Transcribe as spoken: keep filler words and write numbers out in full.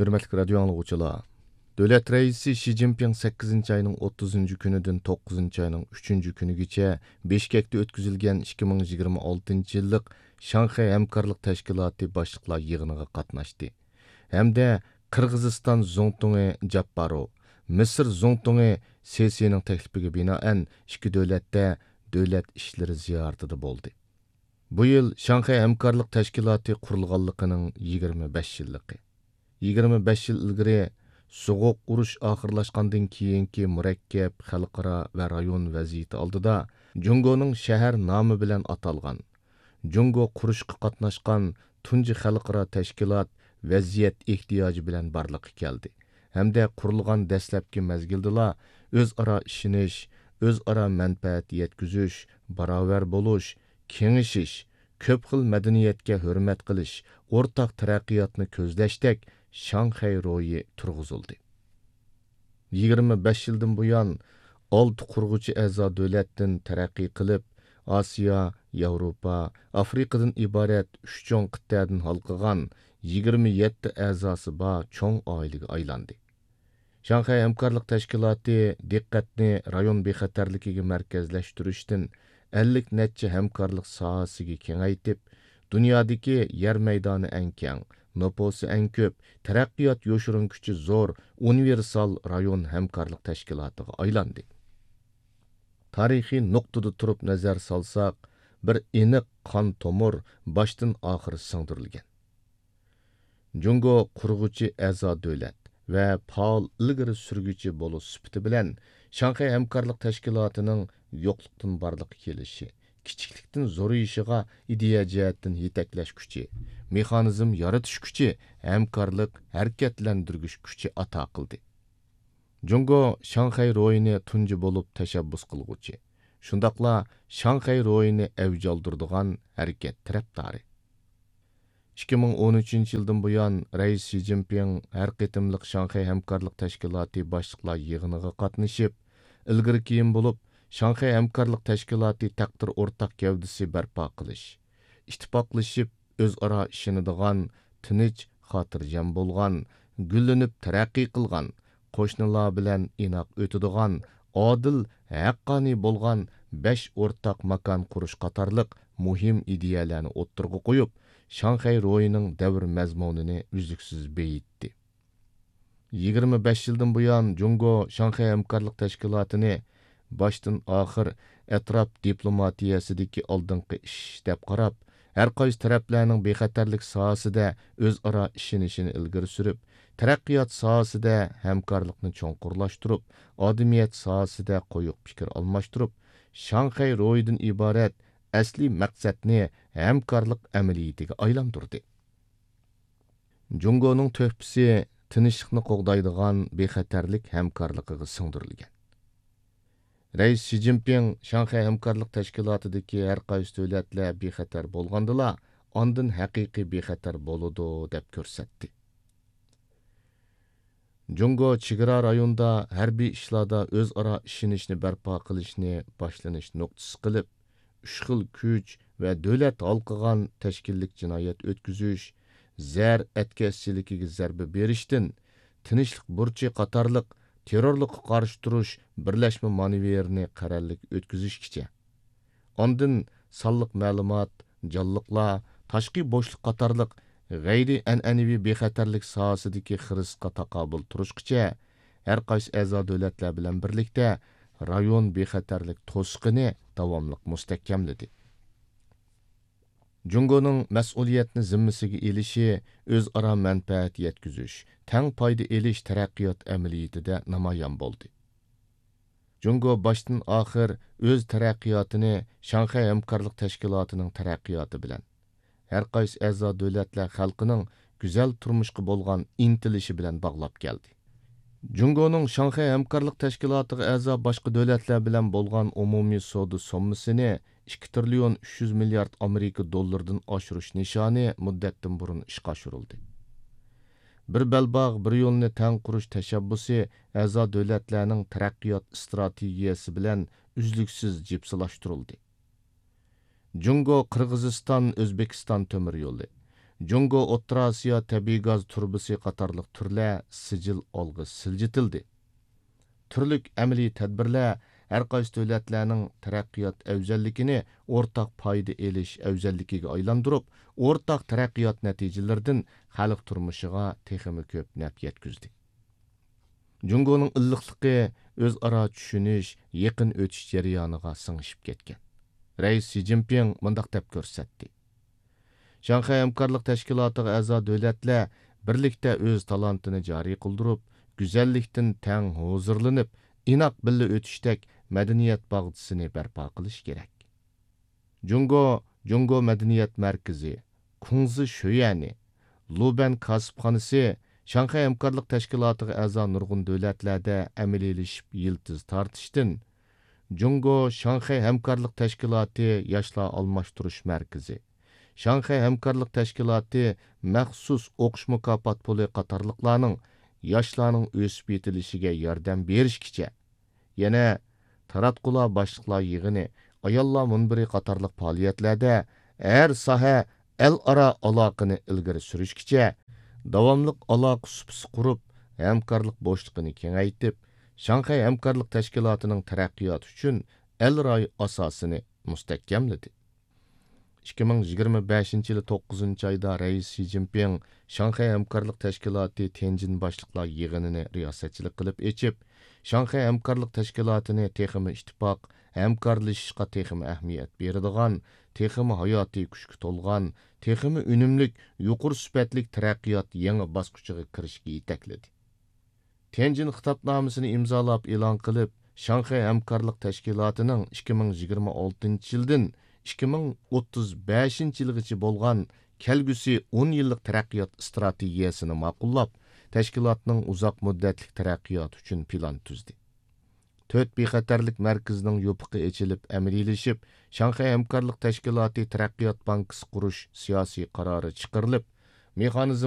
ھۆرمەتلىك رادىيو ئاڭلىغۇچىلار! دۆلەت رەئىسى شى جىنپىڭ سەككىزىنچى ئاينىڭ ئوتتۇزىنچى كۈنىدىن توققۇزىنچى ئاينىڭ ئۈچىنچى كۈنىگىچە بىشكەكتە ئۆتكۈزۈلگەن ئىككى مىڭ يىگىرمە ئالتىنچى يىللىق شاڭخەي ھەمكارلىق تەشكىلاتى باشلىقلار يىغىنىغا قاتناشتى ھەمدە قىرغىزىستان زۇڭتۇڭى جاپپاروۋ، مىسىر زۇڭتۇڭى سىسىنىڭ تەكلىپىگە بىنائەن ئىككى دۆلەتتە دۆلەت ئىشلىرى زىيارىتىدە بولدى. بۇ يىل شاڭخەي ھەمكارلىق تەشكىلاتى قۇرۇلغانلىقىنىڭ يىگىرمە بەش يىللىقى. يىگىرمە بەش يىل ئىلگىرى، سوغۇق ئۇرۇش ئاخىرلاشقاندىن كېيىنكى مۇرەككەپ خەلقئارا ۋە رايون ۋەزىيىتى ئالدىدا، جۇڭگونىڭ شەھەر نامى بىلەن ئاتالغان، جۇڭگو قۇرۇشقا قاتناشقان تۇنجى خەلقئارا تەشكىلات ۋەزىيەت ئېھتىياجى بىلەن بارلىققا كەلدى ھەمدە قۇرۇلغان دەسلەپكى مەزگىلدىلا ئۆزئارا ئىشىنىش، ئۆزئارا مەنپەئەت يەتكۈزۈش، باراۋەر بولۇش، كېڭىشىش، كۆپ خىل مەدەنىيەتكە ھۆرمەت قىلىش، ئورتاق تەرەققىياتنى كۆزلەشتەك شاڭخەي روھى تۇرغۇزۇلدى. يىگىرمە بەش يىلدىن بۇيان، ئالتە قۇرغۇچى ئەزا دۆلەتتىن تەرەققىي قىلىپ، ئاسىيا، ياۋروپا، ئافرىقىدىن ئىبارەت ئۈچ چوڭ قىتئەدىن ھالقىغان يىگىرمە يەتتە ئەزاسى بار چوڭ ئائىلىگە ئايلاندى. شاڭخەي ھەمكارلىق تەشكىلاتى دىققەتنى رايون بىخەتەرلىكىگە مەركەزلەشتۈرۈشتىن ئەللىك نەچچە ھەمكارلىق ساھەسىگە كېڭەيتىپ، دۇنيادىكى يەر مەيدانى ئەڭ كەڭ، نوپۇسى ئەڭ كۆپ، تەرەققىيات يوشۇرۇن كۈچى زور ئۇنىۋېرسال رايون ھەمكارلىق تەشكىلاتىغا ئايلاندى. تارىخىي نۇقتىدا تۇرۇپ نەزەر سالساق، بىر ئېنىق قان تومۇر باشتىن ئاخىر سىڭدۈرۈلگەن. جۇڭگو قۇرغۇچى ئەزا دۆلەت ۋە پائال ئىلگىرى سۈرگۈچى بولۇش سۈپىتى بىلەن، شاڭخەي ھەمكارلىق تەشكىلاتىنىڭ يوقلۇقتىن بارلىققا كېلىشى، كىچىكلىكتىن زورىيىشىغا ئىدىيە جەھەتتىن يېتەكلەش كۈچى، مېخانىزم يارىتىش كۈچى، ھەمكارلىق، ھەرىكەتلەندۈرگۈچ كۈچى ئاتا قىلدى. جۇڭگو شاڭخەي روھىنى تۇنجى بولۇپ تەشەببۇس قىلغۇچى، شۇنداقلا شاڭخەي روھىنى ئەۋج ئالدۇرىدىغان ھەرىكەت تەرەپدارى. ئىككى مىڭ ئون ئۈچىنچى يىلدىن بۇيان، رەئىس شى جىنپىڭ ھەر قېتىملىق شاڭخەي ھەمكارلىق تەشكىلاتى باشلىقلار يىغىنىغا قاتنىشىپ، ئىلگىرى كېيىن بولۇپ، شاڭخەي ھەمكارلىق تەشكىلاتى تەقدىر ئورتاق گەۋدىسى بەرپا قىلىش، ئىتتىپاقلىشىپ، ئۆزئارا ئىشىنىدىغان، تىنچ، خاتىرجەم بولغان، گۈللىنىپ تەرەققىي قىلغان، قوشنىلار بىلەن ئىناق ئۆتىدىغان، ئادىل، ھەققانىي بولغان بەش ئورتاق ماكان قۇرۇش قاتارلىق مۇھىم ئىدىيەلەرنى ئوتتۇرىغا قويۇپ، شاڭخەي روھىنىڭ دەۋر مەزمۇنىنى ئۈزلۈكسىز بېيىتتى. يىگىرمە بەش يىلدىن بۇيان، جۇڭگو شاڭخەي ھەمكارلىق تەشكىلاتىنى باشتىن ئاخىر ئەتراپ دىپلوماتىيەسىدىكى ئالدىنقى ئىش دەپ قاراپ، ھەر قايسى تەرەپلەرنىڭ بىخەتەرلىك ساھەسىدە ئۆزئارا ئىشىنىشىنى ئىلگىرى سۈرۈپ، تەرەققىيات ساھەسىدە ھەمكارلىقنى چوڭقۇرلاشتۇرۇپ، ئادىمىيەت ساھەسىدە قويۇق پىكىر ئالماشتۇرۇپ، شاڭخەي روھىدىن ئىبارەت ئەسلىي مەقسەتنى ھەمكارلىق ئەمەلىيىتىگە ئايلاندۇردى. جۇڭگونىڭ تۆھپىسى تىنچلىقنى قوغدايدىغان بىخەتەرلىك ھەمكارلىقىغا سىڭدۈرۈلگەن. رەئىس شى جىنپىڭ شاڭخەي ھەمكارلىق تەشكىلاتىدىكى ھەر قايسى دۆلەتلەر بىخەتەر بولغاندىلا، ئاندىن ھەقىقىي بىخەتەر بولىدۇ، دەپ كۆرسەتتى. جۇڭگو چېگرا رايوندا ھەربىي ئىشلاردا ئۆزئارا ئىشىنىشنى بەرپا قىلىشنى باشلىنىش نۇقتىسى قىلىپ، ئۈچ خىل كۈچ ۋە دۆلەت ھالقىغان تەشكىللىك جىنايەت ئۆتكۈزۈش، زەر ئەتكەسچىلىكىگە زەربە بېرىشتىن، تىنچلىق بۇرچى قاتارلىق تېررورلۇققا قارشى تۇرۇش بىرلەشمە مانېۋىرىنى قەرەللىك ئۆتكۈزۈشكىچە، ئاندىن سانلىق مەلۇمات، جانلىقلار، تاشقى بوشلۇق قاتارلىق غەيرىي ئەنئەنىۋى بىخەتەرلىك ساھەسىدىكى خىرىسقا تاقابىل تۇرۇشقىچە، ھەر قايسى ئەزا دۆلەتلەر بىلەن بىرلىكتە رايون بىخەتەرلىك توسۇقىنى داۋاملىق مۇستەھكەملىدى. جۇڭگونىڭ مەسئۇلىيەتنى زىممىسىگە ئېلىشى ئۆزئارا مەنپەئەت يەتكۈزۈش، تەڭ پايدا ئېلىش تەرەققىيات ئەمەلىيىتىدە نامايان بولدى. جۇڭگو باشتىن ئاخىر ئۆز تەرەققىياتىنى شاڭخەي ھەمكارلىق تەشكىلاتىنىڭ تەرەققىياتى بىلەن، ھەر قايسى ئەزا دۆلەتلەر خەلقىنىڭ گۈزەل تۇرمۇشقا بولغان ئىنتىلىشى بىلەن باغلاپ كەلدى. جۇڭگونىڭ شاڭخەي ھەمكارلىق تەشكىلاتىغا ئەزا باشقا دۆلەتلەر بىلەن بولغان ئومۇمىي سودا سوممىسىنى ئىككى تىرىليون ئۈچ يۈز مىليارد ئامېرىكا دوللىرىدىن ئاشۇرۇش نىشانى مۇددەتتىن بۇرۇن ئىشقا ئاشۇرۇلدى. بىر بەلباغ، بىر يولنى تەڭ قۇرۇش تەشەببۇسى ئەزا دۆلەتلەرنىڭ تەرەققىيات ئىستراتېگىيەسى بىلەن ئۈزلۈكسىز جىپسىلاشتۇرۇلدى. جۇڭگو قىرغىزىستان ئۆزبېكىستان تۆمۈر يولى، جۇڭگو ئوتتۇرا ئاسىيا تەبىئىي گاز تۇرۇبىسى قاتارلىق تۈرلەر سىجىل ئالغا سىلجىتىلدى. تۈرلۈك ئەمەلىي تەدبىرلەر ھەرقايسى دۆلەتلەرنىڭ تەرەققىيات ئەۋزەللىكىنى ئورتاق پايدا ئېلىش ئەۋزەللىكىگە ئايلاندۇرۇپ، ئورتاق تەرەققىيات نەتىجىلىرىدىن خەلق تۇرمۇشىغا تېخىمۇ كۆپ نەپ يەتكۈزدى. جۇڭگونىڭ ئىللىقلىقى ئۆزئارا چۈشىنىش، يېقىن ئۆتۈش جەريانىغا سىڭىشىپ كەتكەن. رەئىس شى جىنپىڭ مۇنداق دەپ كۆرسەتتى: شاڭخەي ھەمكارلىق تەشكىلاتىغا ئەزا دۆلەتلەر بىرلىكتە ئۆز تالانتىنى جارى قىلدۇرۇپ، گۈزەللىكتىن تەڭ ھۇزۇرلىنىپ، ئىناق بىللە ئۆتۈشتەك مەدەنىيەت باغچىسىنى بەرپا قىلىش كېرەك. جۇڭگو، جۇڭگو مەدەنىيەت مەركىزى، كۇڭزى شۆيەنى، لۇبەن كاسىپخانىسى شاڭخەي ھەمكارلىق تەشكىلاتىغا ئەزا نۇرغۇن دۆلەتلەردە ئەمەلىيلىشىپ يىلتىز تارتىشتىن، جۇڭگو شاڭخەي ھەمكارلىق تەشكىلاتى ياشلار ئالماشتۇرۇش مەركىزى، شاڭخەي ھەمكارلىق تەشكىلاتى مەخسۇس ئوقۇش مۇكاپات پۇلى قاتارلىقلارنىڭ ياشلارنىڭ ئۆسۈپ يېتىلىشىگە ياردەم بېرىشكىچە، يەنە تاراتقۇلار باشلىقلار يىغىنى، ئاياللار مۇنبىرى قاتارلىق پائالىيەتلەردە ھەر ساھە ئەل ئارا ئالاقىنى ئىلگىرى سۈرۈشكىچە داۋاملىق ئالاقە سۇپىسى قۇرۇپ، ھەمكارلىق بوشلۇقىنى كېڭەيتىپ، شاڭخەي ھەمكارلىق تەشكىلاتىنىڭ تەرەققىياتى ئۈچۈن ئەل رايى ئاساسىنى مۇستەھكەملىدى. ئىككى مىڭ يىگىرمە بەشىنچى يىلى توققۇزىنچى ئايدا رەئىس شى جىنپىڭ شاڭخەي ھەمكارلىق تەشكىلاتى تيەنجىن باشلىقلار يىغىنىنى رىياسەتچىلىك قىلىپ ئېچىپ، شاڭخەي ھەمكارلىق تەشكىلاتىنى تېخىمۇ ئىتتىپاق، ھەمكارلىشىشقا تېخىمۇ ئەھمىيەت بېرىدىغان، تېخىمۇ ھاياتىي كۈچكە تولغان، تېخىمۇ ئۈنۈملۈك، يۇقىرى سۈپەتلىك تەرەققىيات يېڭى باسقۇچىغا كىرىشكە يېتەكلىدى. تيەنجىن خىتابنامىسىنى ئىمزالاپ ئېلان قىلىپ، شاڭخەي ھەمكارلىق تەشكىلاتىنىڭ ئىككى مىڭ يىگىرمە ئالتىنچى يىلدىن ئىككى مىڭ ئوتتۇز بەشىنچى يىلغىچە بولغان كەلگۈسى ئون يىللىق تەرەققىيات ئىستراتېگىيەسىنى ماقۇللاپ، تەشكىلاتنىڭ ئۇزاق مۇددەتلىك تەرەققىياتى ئۈچۈن پىلان تۈزدى. تۆت بىخەتەرلىك مەركىزىنىڭ يوپۇقى ئېچىلىپ ئەمەلىيلىشىپ، شاڭخەي ھەمكارلىق تەشكىلاتى تەرەققىيات بانكىسى قۇرۇش سىياسىي قارارى چىقىرىلىپ، مېخانىزم